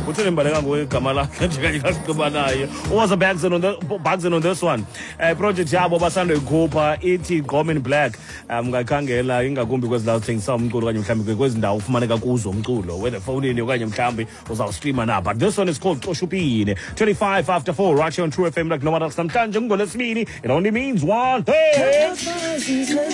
Utheni mbaleka nguwe igama lakhe nje kanye kasigqiba naye. Uwaza Bagson on the Bagson on this one. Project yabo basandoyikhupha ithi Gqom in Black. Ungayikhangela ingakumbi kwezi ndawo zithengisa umculo okanye mhlawumbi kwezi ndawo ufumaneka kuzo umculo, whether efowunini okanye mhlawumbi uzawustreama na. But this one is called Xoshupine. 25 after 4 right here on True FM like no one else. Namhlanje kungolwesibini. It only means one thing.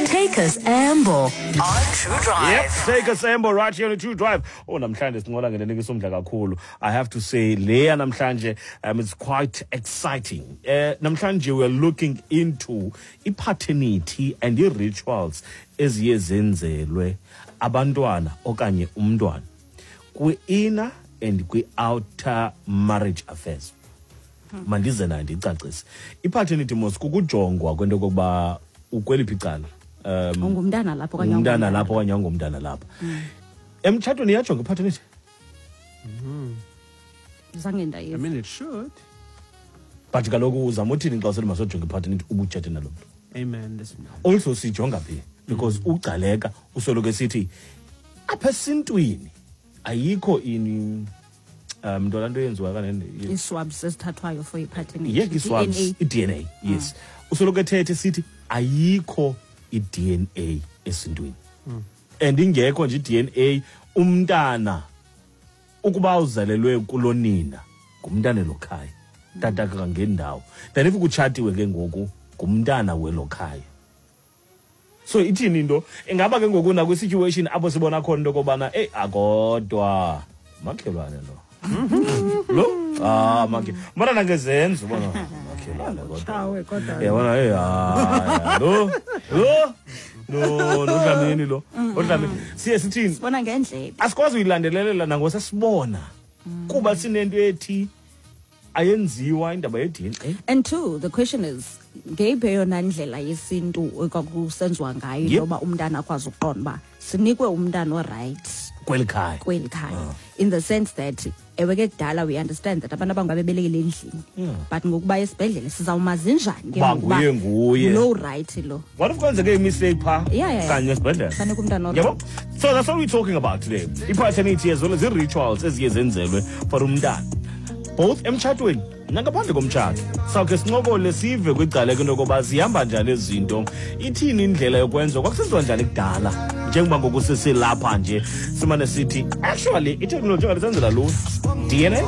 Take us Amble on True Drive. Yep, take us Amble right here on the True Drive. Oh, namhlanje sincola ngento enikisa umdla kakhulu. I have to say, leya namhlanje, it's quite exciting. Namhlanje we are looking into i-paternity and i-rituals eziye zenzelwe abantwana okanye umntwana kwi-inner and kwi-outer marriage affairs. Mandize nayo ndicacise. I-paternity mos kukujongwa kwento kokuba ukweliphi icala. Ungumntana lapho okanye ungumntana lapho okanye ungumntana lapho. Emtshatweni iyajonga i-paternity? Zange ndayiva. I mean, it should. But kaloku uzama uthini xa usithi masojonga i-paternity ubutshate nalo mntu? Amen. Listen. Also sijonga phi? Because ugcaleka usoloko esithi apha esintwini ayikho ini nto laa nto yenziwa kanene. Ii-swabs ezithathwayo for i-paternity. Yeke i-swabs, DNA. i-DNA, yes. Usoloko ethethe sithi ayikho i-DNA esintwini. And ingekho nje i-DNA, umntana ukuba uzalelwe kulonina ngumntana elokhaya. Tata kangendawo. Then if kutshatiwe ke ngoku ngumntana welokhaya. So ithini into? Ingaba ke ngoku nakwi-situation apho sibona khona into yokobana, eyi, akodwa makhelwane lo. Lo? Ah, makhe. Mbona nangezenzo ubona makhelwane kodwa. Tshawe kodwa. Yabona, eyi, hayi, lo, lo, lo, lo Dlamini lo. Udlamini. Siye sithini? Sibona ngendlebe. Asikwazi uyilandelelela nangosasibona. Kuba sinento ethi ayenziwa indaba ye-DNA. And two, the question is, ngeyiphi eyona ndlela yesintu ekwakusenziwa ngayo yoba umntana akwazi ukuqonda uba sinikwe umntana o-right kweli khaya? Kweli khaya. In the sense that ewe ke kudala we understand that abantu abangabebelekele endlini. But ngokuba esibhedlele sizawumazi njani ke Uba ngokuba nguye nguye. lo right lo? What if kwenzeke i-mistake phaa? Yeah. Kanye esibhedlele. Fanele umntana o- Yabo? So that's what we're talking about today. I-paternity as well as i-rituals eziye zenzelwe for umntana. Both emtshatweni nangaphandle komtshato. Sawukhe sincokole sive kwicala into yokoba zihamba njani ezi zinto. Ithini indlela yokwenziwa? Kwakusenziwa njani kudala? Njengoba ngoku sesilapha nje simane sithi actually i-technology ingasenzela lula. DNA?